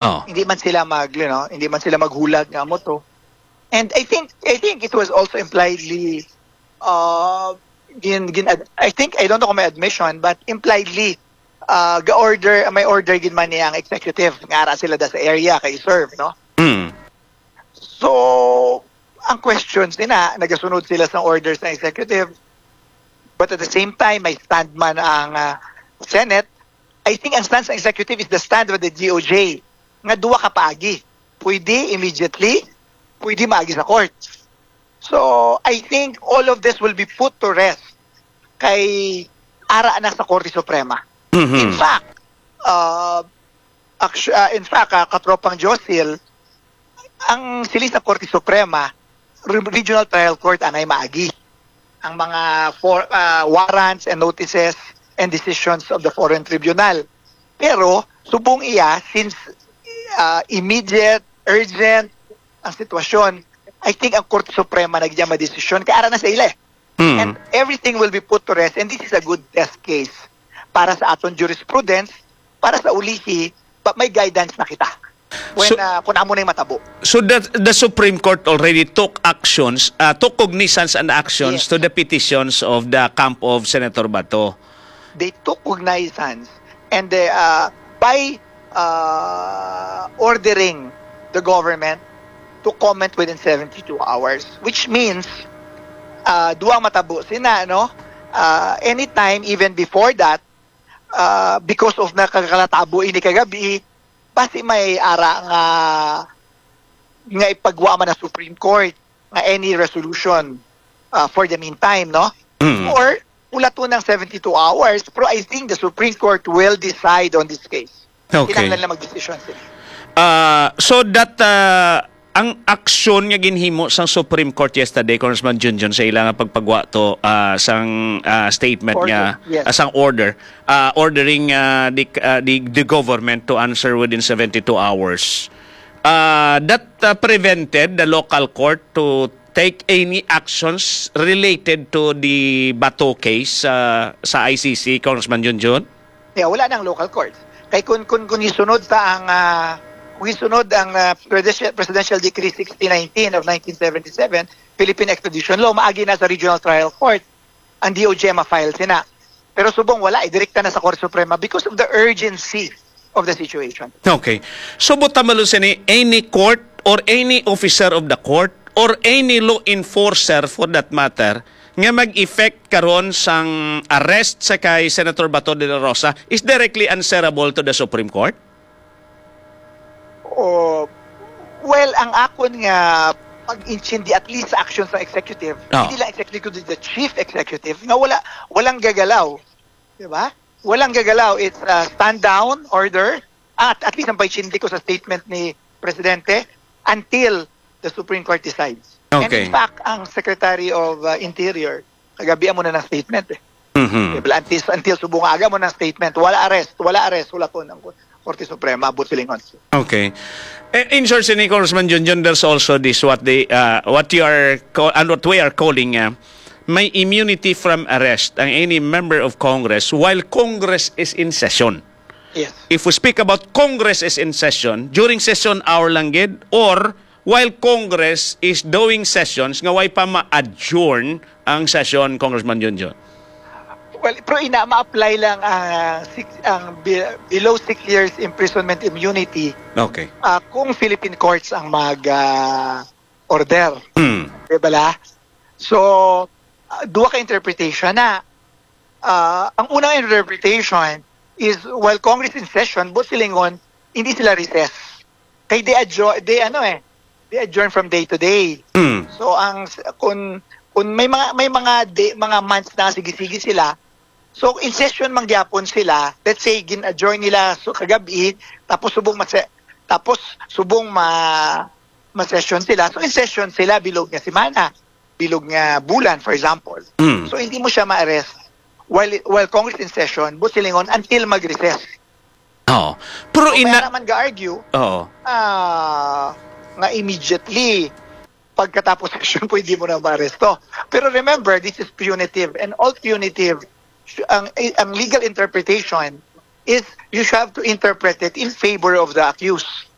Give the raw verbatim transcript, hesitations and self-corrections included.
Oh. Hindi man sila mag, you know, hindi man sila maghulag nga amo to. And I think I think it was also impliedly uh gin, gin I think, I don't know kung may admission, but impliedly uh ga-order, may order gid man niya ang executive nga ara sila da sa area kay serve, no? Mm. So ang question sina, nagasunod sila sa order sa executive, but at the same time may stand man ang uh, Senate. I think ang stance ng executive is the stand of the D O J nga duwa ka paagi. Pwede immediately, pwede maagi sa court. So, I think all of this will be put to rest kay ara na sa Korte Suprema. Mhm. In fact, uh, actu- uh, in fact, uh, katropang Josil, ang siling sa Korte Suprema, re- regional trial court anay maagi ang mga for, uh, warrants and notices and decisions of the foreign tribunal. Pero subong iya, since uh, immediate, urgent ang sitwasyon, I think ang Korte Suprema na gid ang madesisyon kay ara na sa ila eh. Mm. And everything will be put to rest, and this is a good test case para sa aton jurisprudence, para sa ulihi, pa may guidance na kita when So- uh, kung amo na yung matabo. So the, the Supreme Court already took actions, uh, took cognizance and actions Yes. to the petitions of the camp of Senator Bato. They took cognizance and they, uh, by uh, ordering the government to comment within seventy-two hours, which means uh, duwa matabo sina, no? Uh, anytime, even before that, uh, because of nakakalatabo ini kagabi, basi may ara nga nga ipagwa man ang Supreme Court nga any resolution uh, for the meantime, no? Mm. Or ulaton ng seventy-two hours, pero I think the Supreme Court will decide on this case. Okay. Kinahanglan lang magdesisyon sila. Ah, so that ah, ang aksyon nga ginhimo sang Supreme Court yesterday, Congressman Junjun, sa ila nga pagpagwa to ah, sang ah, statement Order, nga yes. ah, sang order ah, ordering ah, the, ah, the the government to answer within seventy-two hours. Ah, that ah, prevented the local court to take any actions related to the Bato case ah, sa I C C, Congressman Junjun? Yeah, wala nang local courts. Kay kung kung kung isunod ta ang ah, kung isunod ang ah, presidential, presidential decree sixty nineteen of nineteen seventy-seven, Philippine Extradition Law, maagi na sa regional trial court ang D O J ma-file sina. Pero subong wala, eh, direkta na sa Korte Suprema because of the urgency of the situation. Okay. So, buta malo sini, any court or any officer of the court or any law enforcer for that matter nga mag-effect karon sang arrest sa kay Senator Bato de la Rosa is directly answerable to the Supreme Court? O, well, ang akon nga pag-intindi, at least sa action sa executive, Ah. hindi lang executive, kundi the chief executive, nga wala, walang gagalaw. Di ba? Walang gagalaw. It's a stand down order. At at least ang pag-intindi ko sa statement ni Presidente, until the Supreme Court decides. And Okay. In fact, ang Secretary of uh, Interior, kagabi mo na ng statement eh. Mhm. Diba? Until, until subong aga mo ng statement, wala arrest, wala arrest, wala to ng Korte Suprema, buot silingon. Okay. Eh, in short, sini Congressman Junjun, there's also this what they uh, what you are call, and what we are calling uh, may immunity from arrest ang any member of Congress while Congress is in session. Yes. If we speak about Congress is in session, during session hour lang gid or while Congress is doing sessions nga way pa ma-adjourn ang session, Congressman Junjun? Well, pero ina, ma-apply lang ang, ah, six, ang be- below six years imprisonment immunity Okay. ah, kung Philippine courts ang mag ah, order. Mm. Di ba la? So, ah, duha ka interpretation na. Ah, ang unang interpretation is while Congress in session, buot silingon, hindi sila recess. Kay they adjourn, they ano eh, they adjourn from day to day. Mm. So ang s- kung kung may mga may mga day, mga months na sige-sige sila. So in session man gyapon sila, let's say gin-adjourn nila so kagabi, tapos subong mase, tapos subong ma ma-session sila. So in session sila bilog nga semana, bilog nga bulan, for example. Mm. So hindi mo siya ma-arrest while while Congress in session, buot silingon, until mag-recess. Oo. Pero So, ina kaya naman ga-argue Oo. ah, nga immediately pagkatapos session pwede mo na maaresto. Pero remember, this is punitive, and all punitive, ang ang legal interpretation is you have to interpret it in favor of the accused.